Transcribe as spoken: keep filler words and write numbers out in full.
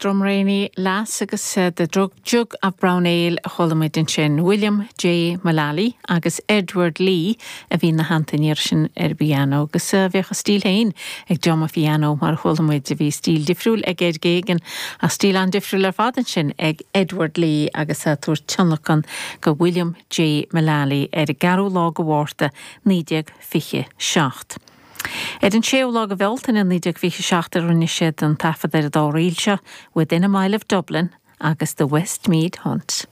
Drumraney Lass agus uh, the drug Jug of Brown Ale a chuala muid ansin William J. Mullally agus Edward Lee a bhí ina theannta sin ar piano agus uh, bheadh a stíl féin ag John piano mar chuala muid a bhí stíl difriúil ag Ed Geoghegan a stíl an-difriúil ar fad sin ag Edward Lee agus a tabhairt tionlacan go William J. Mullally ar an gceathrú lá de Mhárta naoi déag fiche seacht. Ar an séú lá de Bhealtaine naoi déag fiche seacht a rinne siad an taifead ar an dá ríl seo Within a Mile of Dublin agus the Westmead Hunt.